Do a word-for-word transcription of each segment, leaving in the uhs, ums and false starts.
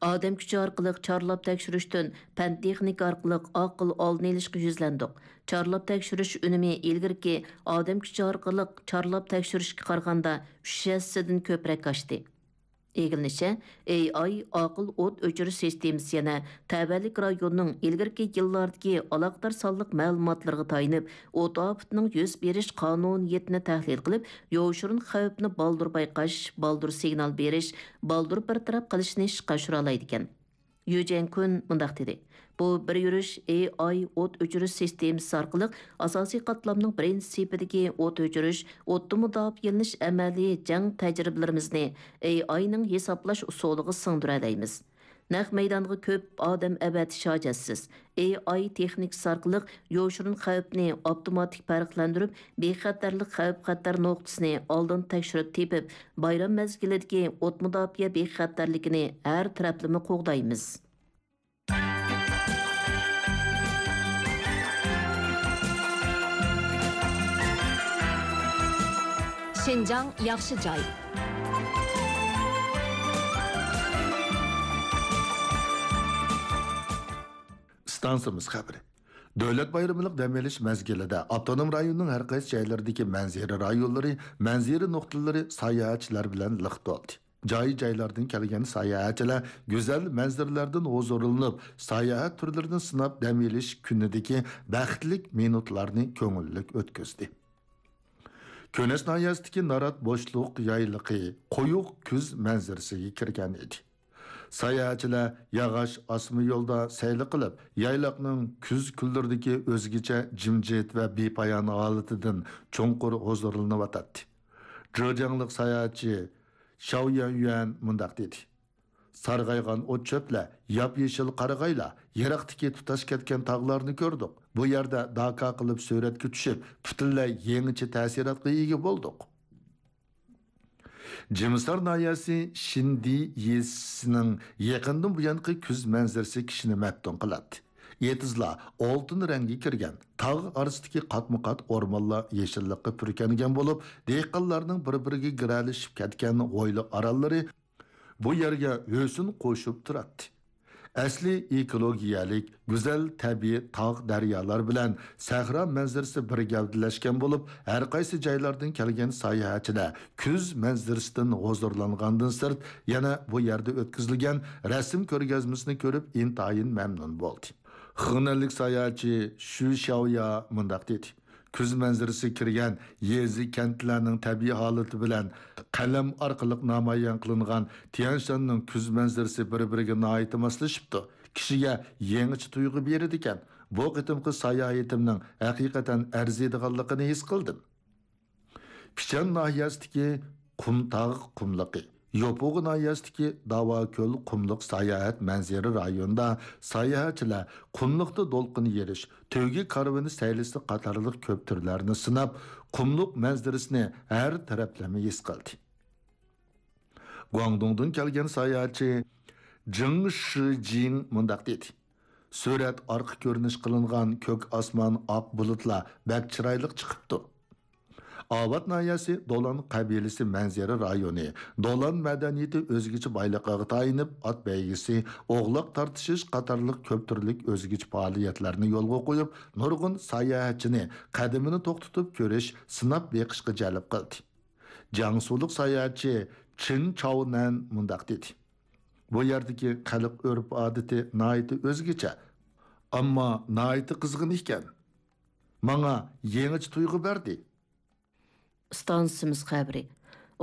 ئادەم كۈچى ئارقىلىق چارلاپ تەكشۈرۈشتىن پەن-تېخنىكا ئارقىلىق ئاقىل ئالدىنى ئېلىشقا يۈزلەندۇق. چارلاپ تەكشۈرۈش ئۈنۈمى ئىلگىرىكى ئادەم كۈچى ئارقىلىق چارلاپ تەكشۈرۈشكە قارىغاندا ئۈچ ھەسسىدىن كۆپرەك ئاشتى. ئىگىلىنىشىچە، ئېي ئاي ئاقىل ئوت ئۆچۈرۈش سىستېمىسى يەنە تەۋەلىك رايوننىڭ ئىلگىرىكى يىللاردىكى ئالاقىدار سانلىق مەلۇماتلىرىغا تايىنىپ، ئوت ئاپىتىنىڭ يۈز بېرىش قانۇنىيىتىنى تەھلىل قىلىپ، يوشۇرۇن خەۋپنى بالدۇر بايقاش، بالدۇر سىگنال بېرىش، بالدۇر بىر تەرەپ قىلىشنى ئىشقا ئاشۇرالايدىكەن. يۈ جيەنكۈن مۇنداق دېدى: بۇ بىر يۈرۈش ئېي ئاي ئوت ئۆچۈرۈش سىستېمىسى ئارقىلىق ئاساسىي قاتلامنىڭ بىرىنچى سېپىدىكى ئوت ئۆچۈرۈش، ئوتتىن مۇداپىئەلىنىش ئەمەلىي جەڭ تەجرىبىلىرىمىزنى ئېي ئاينىڭ ھېسابلاش ئۇسۇلىغا سىڭدۈرەلەيمىز. نەق مەيدانغا كۆپ ئادەم ئەۋەتىش ھاجەتسىز. ئېي ئاي تېخنىكىسى ئارقىلىق يوشۇرۇن خەۋپنى ئاپتوماتىك پەرقلەندۈرۈپ، بىخەتەرلىك خەۋپ-خەتەر نۇقتىسىنى ئالدىن تەكشۈرۈپ تېپىپ، بايرام مەزگىلىدىكى ئوت مۇداپىئە بىخەتەرلىكىنى ھەر تەرەپلىمە قوغدايمىز. شىنجاڭ ياخشى جاي. ئىستانسىمىز خەۋىرى. دۆلەت بايرىملىق دەم ئېلىش مەزگىلىدە ئاپتونوم رايوننىڭ ھەر قايسى جايلىرىدىكى مەنزىرە رايونلىرى، مەنزىرە نۇقتىلىرى ساياھەتچىلەر بىلەن لىق تولدى. جاي-جايلاردىن كەلگەن ساياھەتچىلەر گۈزەل مەنزىرىلەردىن ھۇزۇرلىنىپ، ساياھەت تۈرلىرىنى سىناپ، دەم ئېلىش كۈنىدىكى بەختلىك مىنۇتلارنى كۆڭۈللۈك ئۆتكۈزدى. كۈنەس ناھىيەسىدىكى نارات بوشلۇق يايلىقى قويۇق كۈز مەنزىرىسىگە كىرگەن ئىدى. ساياھەتچىلەر ياغاچ ئاسما يولدا سەيلە قىلىپ، يايلاقنىڭ كۈز كۈنلىرىدىكى ئۆزگىچە جىمجىت ۋە بىپايان ھالىتىدىن چوڭقۇر ھۇزۇرلىنىۋاتاتتى. جېجياڭلىق ساياھەتچى شاۋ يۈەنيۈەن مۇنداق دېدى: سارغايغان ئوت-چۆپلەر، ياپيېشىل قارىغايلار، يىراقتىكى تۇتاش كەتكەن تاغلارنى كۆردۇق. بۇ يەردە داكا قىلىپ سۈرەتكە چۈشۈپ، پۈتۈنلەي يېڭىچە تەسىراتقا ئىگە بولدۇق. جىمىسار ناھىيەسى شىندى يېزىسىنىڭ يېقىندىن بۇيانقى كۈز مەنزىرىسى كىشىنى مەپتۇن قىلاتتى. ئېتىزلار ئالتۇن رەڭگە كىرگەن، تاغ ئارىسىدىكى قاتمۇ-قات ئورمانلار يېشىللىققا پۈركەنگەن بولۇپ، دېھقانلارنىڭ بىر-بىرىگە گىرەلىشىپ كەتكەن ھويلا ئارانلىرى بۇ يەرگە ھۆسن قوشۇپ تۇراتتى. ئەسلى ئېكولوگىيەلىك، گۈزەل تەبىئىي تاغ، دەريالار بىلەن سەھرا مەنزىرىسى بىر گەۋدىلەشكەن بولۇپ، ھەر قايسى جايلاردىن كەلگەن ساياھەتچىلەر كۈز مەنزىرىسىدىن ھۇزۇرلانغاندىن سىرت، يەنە بۇ يەردە ئۆتكۈزۈلگەن رەسىم كۆرگەزمىسىنى كۆرۈپ ئىنتايىن مەمنۇن بولدى. خېنەنلىك ساياھەتچى شۈ شياۋيا مۇنداق دېدى: كۈز مەنزىرىسى كىرگەن يېزا، كەنتلەرنىڭ تەبىئىي ھالىتى بىلەن قەلەم ئارقىلىق نامايان قىلىنغان تيەنشاننىڭ كۈز مەنزىرىسى بىر-بىرىگە ناھايىتى ماسلىشىپتۇ. كىشىگە يېڭىچە تۇيغۇ بېرىدىكەن. بۇ قېتىمقى ساياھىتىمنىڭ ھەقىقەتەن ئەرزىيدىغانلىقىنى ھېس قىلدىم. پىچان ناھىيەسىدىكى قۇمتاغ قۇملۇقى، يوپۇغا ناھىيەسىدىكى داۋاكۆل قۇملۇق ساياھەت مەنزىرە رايونىدا ساياھەتچىلەر قۇملۇقتا دولقۇن يېرىش، تۆگە كارۋىنى سەيلىسى قاتارلىق كۆپ تۈرلەرنى سىناپ، قۇملۇق مەنزىرىسىنى ھەر تەرەپلىمە ھېس قىلدى. گۇاڭدۇڭدىن كەلگەن ساياھەتچى جېڭ شىجىڭ مۇنداق دېدى: سۈرەت ئارقا كۆرۈنۈش قىلىنغان كۆك ئاسمان، ئاق بۇلۇتلار بەك چىرايلىق چىقىپتۇ. ئاۋات ناھىيەسى دولان قەبىلىسى مەنزىرە رايونى دولان مەدەنىيىتى ئۆزگىچە بايلىقىغا تايىنىپ، ئات بەيگىسى، ئوغلاق تارتىشىش قاتارلىق كۆپ تۈرلۈك ئۆزگىچە پائالىيەتلەرنى يولغا قويۇپ، نۇرغۇن ساياھەتچىنى قەدىمىنى توختىتىپ كۆرۈش، سىناپ بېقىشقا جەلپ قىلدى. جياڭسۇلۇق ساياھەتچى چېن چاۋنەن مۇنداق دېدى: بۇ يەردىكى خەلق ئۆرپ-ئادىتى ناھايىتى ئۆزگىچە، ئەمما ناھايىتى قىزغىن ئىكەن. ماڭا يېڭىچە تۇيغۇ بەردى. ئىستانسىمىز خەۋىرى.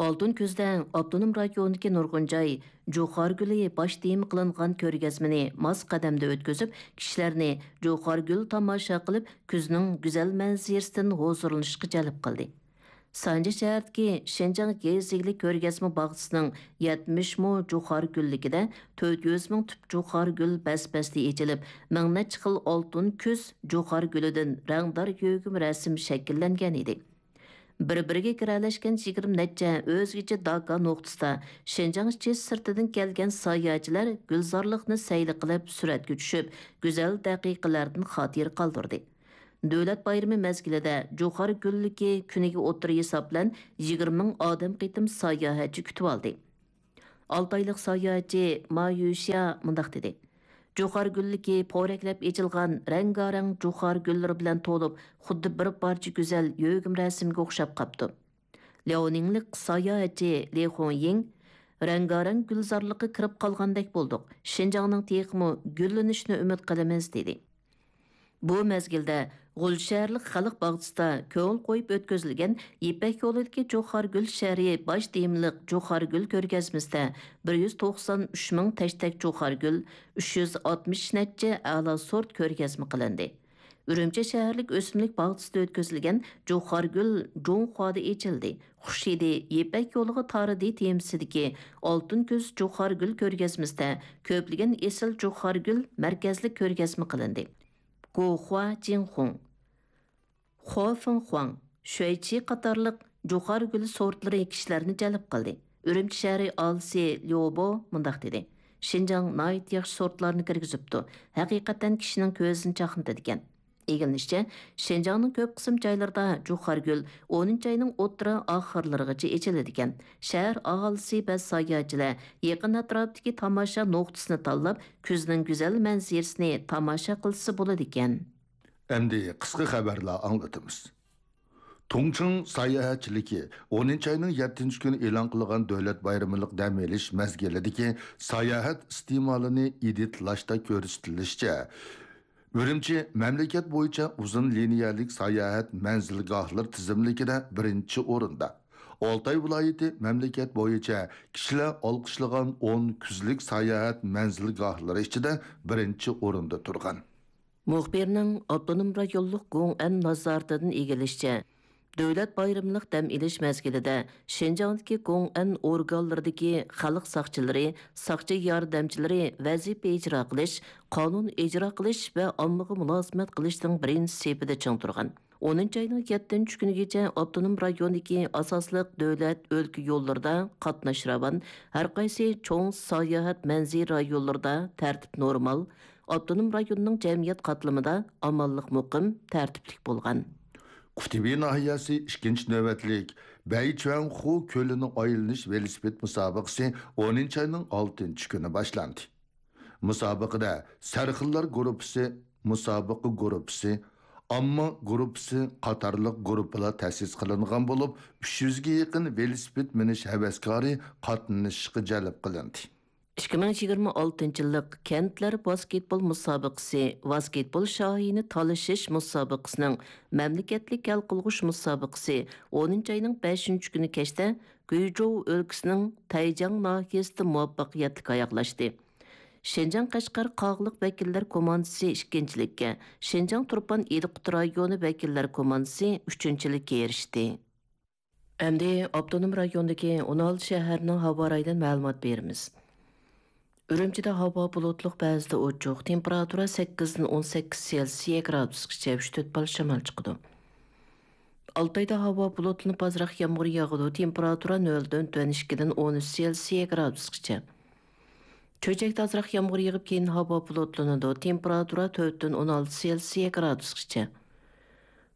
ئالتۇن كۈزدە ئاپتونوم رايوندىكى نۇرغۇن جاي جۇخار گۈلى باش تېما قىلىنغان كۆرگەزمىنى ماس قەدەمدە ئۆتكۈزۈپ، كىشىلەرنى جۇخار گۈل تاماشا قىلىپ، كۈزنىڭ گۈزەل مەنزىرىسىدىن ھۇزۇرلىنىشقا جەلپ قىلدى. سانجى شەھىرىدىكى شىنجاڭ يېزا ئىگىلىك كۆرگەزمە باغچىسىنىڭ يەتمىش مو جۇخار گۈللۈكىدە تۆت يۈز مىڭ تۈپ جۇخار گۈل بەس-بەستە ئېچىلىپ، مىڭ نەچچە خىل ئالتۇن كۈز جۇخار گۈلىدىن رەڭدار يۆگىمە رەسىم شەكىللەنگەن ئىدى. بىر-بىرىگە گىرەلەشكەن يىگىرمە نەچچە ئۆزگىچە داكا نۇقتىسىدا شىنجاڭ ئىچى سىرتىدىن كەلگەن ساياھەتچىلەر گۈلزارلىقنى سەيلە قىلىپ، سۈرەتكە چۈشۈپ، گۈزەل دەقىقىلەردىن خاتىرە قالدۇردى. دۆلەت بايرىمى مەزگىلىدە جۇخار گۈللۈكى كۈنىگە ئوتتۇرا ھېساب بىلەن يىگىرمە مىڭ ئادەم قېتىم ساياھەتچى كۈتۈۋالدى. ئالتايلىق ساياھەتچى ما يۈشيا مۇنداق دېدى: جۇخار گۈللۈكى پورەكلەپ ئېچىلغان رەڭگارەڭ جۇخار گۈللىرى بىلەن تولۇپ، خۇددى بىر پارچە گۈزەل يۆگىمە رەسىمگە ئوخشاپ قاپتۇ. لياۋنىڭلىق ساياھەتچى لى خۇڭيىڭ: رەڭگارەڭ گۈلزارلىققا كىرىپ قالغاندەك بولدۇق، شىنجاڭنىڭ تېخىمۇ گۈللىنىشىنى ئۈمىد قىلىمىز، دېدى. بۇ مەزگىلدە غۇلجا شەھەرلىك خەلق باغچىسىدا كۆڭۈل قويۇپ ئۆتكۈزۈلگەن يىپەك يولىدىكى جۇخار گۈل شەھىرى باش تېمىلىق جۇخار گۈل كۆرگەزمىسىدە بىر يۈز توقسان ئۈچ مىڭ تەشتەك جۇخار گۈل، ئۈچ يۈز ئاتمىش نەچچە ئەلا سورت كۆرگەزمە قىلىندى. ئۈرۈمچى شەھەرلىك ئۆسۈملۈك باغچىسىدا ئۆتكۈزۈلگەن جۇخار گۈل جۇڭخۇادا ئېچىلدى، خۇش ھىدى يىپەك يولىغا تارىدى تېمىسىدىكى ئالتۇن كۈز جۇخار گۈل كۆرگەزمىسىدە كۆپلىگەن ئېسىل جۇخار گۈل مەركەزلىك كۆرگەزمە قىلىندى. گوخۇا جىنخۇڭ، خۇا فېڭخۇاڭ، شۈەيچى قاتارلىق جۇخار گۈل سورتلىرى كىشىلەرنى جەلپ قىلدى. ئۈرۈمچى شەھىرى ئاھالىسى ليۇ بو مۇنداق دېدى: شىنجاڭ ناھايىتى ياخشى سورتلارنى كىرگۈزۈپتۇ، ھەقىقەتەن كىشىنىڭ كۆزىنى چاقنىتىدىكەن. ئىگىلىنىشىچە، شىنجاڭنىڭ كۆپ قىسىم جايلىرىدا جۇخار گۈل ئونىنچى ئاينىڭ ئوتتۇرا ئاخىرلىرىغىچە ئېچىلىدىكەن. شەھەر ئاھالىسى ۋە ساياھەتچىلەر يېقىن ئەتراپتىكى تاماشا نۇقتىسىنى تاللاپ، كۈزنىڭ گۈزەل مەنزىرىسىنى تاماشا قىلسا بولىدىكەن. ئەمدى قىسقا خەۋەرلەر ئاڭلىتىمىز. تۇڭچىڭ ساياھەتچىلىكى ئونىنچى ئاينىڭ يەتتىنچى كۈنى ئېلان قىلغان دۆلەت بايرىمىلىق دەم ئېلىش مەزگىلىدىكى ساياھەت ئىستېمالىنى ئىدىتلاشتا كۆرسىتىلىشىچە، ئۈرۈمچى مەملىكەت بويىچە ئۇزۇن لىنىيەلىك ساياھەت مەنزىلگاھلىرى تىزىملىكىدە بىرىنچى ئورۇندا. ئالتاي ۋىلايىتى مەملىكەت بويىچە كىشىلەر ئالقىشلىغان ئون كۈزلۈك ساياھەت مەنزىلگاھلىرى ئىچىدە بىرىنچى ئورۇندا تۇرغان. مۇخبىرنىڭ ئاپتونوم رايونلۇق گوڭئەن نازارىتىدىن ئىگىلىشىچە، دۆلەت بايرىملىق دەم ئېلىش مەزگىلىدە شىنجاڭدىكى گوڭئەن ئورگانلىرىدىكى خەلق ساقچىلىرى، ساقچى ياردەمچىلىرى ۋەزىپە ئىجرا قىلىش، قانۇن ئىجرا قىلىش ۋە ئاممىغا مۇلازىمەت قىلىشنىڭ بىرىنچى سېپىدە چىڭ تۇرغان. ئونىنچى ئاينىڭ يەتتىنچى كۈنىگىچە ئاپتونوم رايوندىكى ئاساسلىق دۆلەت، ئۆلكە يوللىرىدا قاتناش راۋان، ھەرقايسى چوڭ ساياھەت مەنزىرە رايونلىرىدا تەرتىپ نورمال، ئاپتونوم رايوننىڭ جەمئىيەت قاتلىمىدا ئامانلىق مۇقىم، تەرتىپلىك بولغان. قۇتىبى ناھىيەسى ئىككىنچى نۆۋەتلىك بەيچۈەنخۇ كۆلىنى ئايلىنىش ۋېلىسىپىت مۇسابىقىسى ئونىنچى ئاينىڭ ئالتىنچى كۈنى باشلاندى. مۇسابىقىدە سەرخىللار گۇرۇپپىسى، مۇسابىقە گۇرۇپپىسى، ئامما گۇرۇپپىسى قاتارلىق گۇرۇپپىلار تەسىس قىلىنغان بولۇپ، ئۈچ يۈزگە يېقىن ۋېلىسىپىت مىنىش ھەۋەسكارى قاتنىشىشقا جەلپ قىلىندى. ئىككى مىڭ يىگىرمە ئالتىنچى يىللىق كەنتلەر ۋاسكېتبول مۇسابىقىسى، ۋاسكېتبول شاھىنى تالىشىش مۇسابىقىسىنىڭ مەملىكەتلىك ھەل قىلغۇچ مۇسابىقىسى ئونىنچى ئاينىڭ بەشىنچى كۈنى كەچتە گۇيجوۋ ئۆلكىسىنىڭ تەيجاڭ ناھىيەسىدە مۇۋەپپەقىيەتلىك ئاياغلاشتى. شىنجاڭ قەشقەر قاغىلىق ۋەكىللەر كوماندىسى ئىككىنچىلىككە، شىنجاڭ تۇرپان ئىدىقۇت رايونى ۋەكىللەر كوماندىسى ئۈچىنچىلىككە ئېرىشتى. ئەمدى ئاپتونوم رايوندىكى ئون ئالتە شەھەرنىڭ ھاۋا رايىدىن مەلۇمات بېرىمىز. ئۈرۈمچىدە ھاۋا بۇلۇتلۇق، بەزىدە ئوچۇق، تېمپېراتۇرا سەككىزدىن ئون سەككىز سېلسىيە گرادۇسقىچە، ئۈچ تۆت بال شامال چىقىدۇ. ئالتايدا ھاۋا بۇلۇتلىنىپ، ئازراق يامغۇر ياغىدۇ، تېمپېراتۇرا نۆلدىن تۆۋەن ئىككىدىن ئون ئۈچ سېلسىيە گرادۇسقىچە. چۆچەكتە ئازراق يامغۇر يېغىپ، كېيىن ھاۋا بۇلۇتلىنىدۇ، تېمپېراتۇرا تۆتتىن ئون ئالتە سېلسىيە گرادۇسقىچە.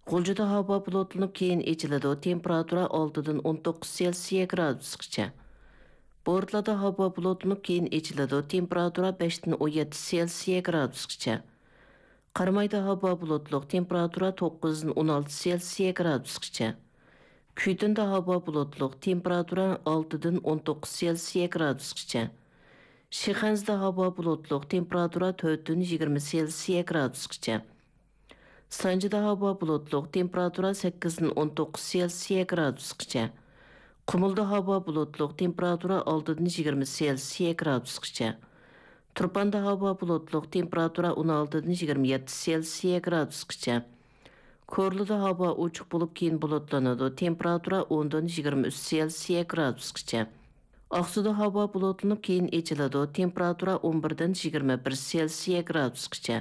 غۇلجىدا ھاۋا بۇلۇتلىنىپ، كېيىن ئېچىلىدۇ، تېمپېراتۇرا ئالتىدىن ئون توققۇز سېلسىيە گرادۇسقىچە. بورتالادا ھاۋا بۇلۇتلىنىپ، كېيىن ئېچىلىدۇ، تېمپېراتۇرا بەشتىن ئون يەتتە سېلسىيە گرادۇسقىچە. قارامايدا ھاۋا بۇلۇتلۇق، تېمپېراتۇرا توققۇزدىن ئون ئالتە سېلسىيە گرادۇسقىچە. كۈيتۇندا ھاۋا بۇلۇتلۇق، تېمپېراتۇرا ئالتىدىن ئون توققۇز سېلسىيە گرادۇسقىچە. شىخەنزىدە ھاۋا بۇلۇتلۇق، تېمپېراتۇرا تۆتتىن يىگىرمە سېلسىيە گرادۇسقىچە. سانجىدا ھاۋا بۇلۇتلۇق، تېمپېراتۇرا سەككىزدىن ئون توققۇز سېلسىيە گرادۇسقىچە. قۇمۇلدا ھاۋا بۇلۇتلۇق، تېمپېراتۇرا ئالتىدىن يىگىرمە سېلسىيە گرادۇسقىچە. تۇرپاندا ھاۋا بۇلۇتلۇق، تېمپېراتۇرا ئون ئالتىدىن يىگىرمە يەتتە سېلسىيە گرادۇسقىچە. كورلىدا ھاۋا ئوچۇق بولۇپ، كېيىن بۇلۇتلىنىدۇ، تېمپېراتۇرا ئوندىن يىگىرمە ئۈچ سېلسىيە گرادۇسقىچە. ئاقسۇدا ھاۋا بۇلۇتلىنىپ، كېيىن ئېچىلىدۇ، تېمپېراتۇرا ئون بىردىن يىگىرمە بىر سېلسىيە گرادۇسقىچە.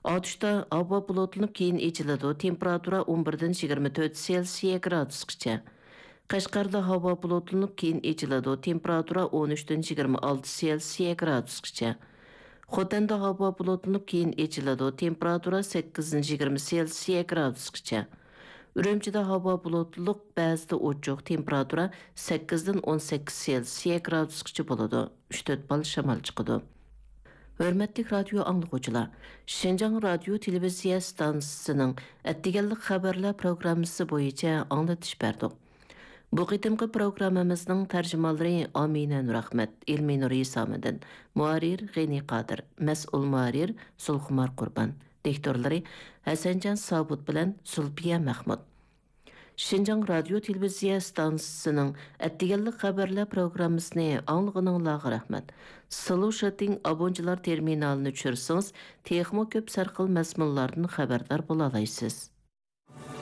ئاتۇشتا ھاۋا بۇلۇتلىنىپ، كېيىن ئېچىلىدۇ، تېمپېراتۇرا ئون بىردىن يىگىرمە تۆت سېلسىيە گرادۇسقىچە. قەشقەردە ھاۋا بۇلۇتلىنىپ، كېيىن ئېچىلىدۇ، تېمپېراتۇرا ئون ئۈچتىن يىگىرمە ئالتە سېلسىيە گرادۇسقىچە. خوتەندە ھاۋا بۇلۇتلىنىپ، كېيىن ئېچىلىدۇ، تېمپېراتۇرا سەككىزدىن يىگىرمە سېلسىيە گرادۇسقىچە. ئۈرۈمچىدە ھاۋا بۇلۇتلۇق، بەزىدە ئوچۇق، تېمپېراتۇرا سەككىزدىن ئون سەككىز سېلسىيە گرادۇسقىچە بولىدۇ. ئۈچ تۆت بال شامال چىقىدۇ. ھۆرمەتلىك رادىيو ئاڭلىغۇچىلار، شىنجاڭ رادىيو تېلېۋىزىيە ئىستانسىسىنىڭ ئەتىگەنلىك خەۋەرلەر پروگراممىسى بويىچە ئاڭلىتىش بەردۇق. بۇ قېتىمقى پروگراممىمىزنىڭ تەرجىمانلىرى ئامىنە نۇرئەخمەت، ئېلمىنۇر ھېسامىدىن، مۇھەررىر غېنى قادىر، مەسئۇل مۇھەررىر زۇلخۇمار قۇربان، دىكتورلىرى ھەسەنجان سابۇت بىلەن زۇلپىيە مەخمۇت. شىنجاڭ رادىيو تېلېۋىزىيە ئىستانسىسىنىڭ ئەتىگەنلىك خەۋەرلەر پروگراممىسىنى ئاڭلىغىنىڭلارغا رەھمەت. سلۇشىتىڭ ئابونچىلار تېرمىنالىنى چۈشۈرسىڭىز، تېخىمۇ كۆپ سەرخىل مەزمۇنلاردىن خەۋەردار بولالايسىز.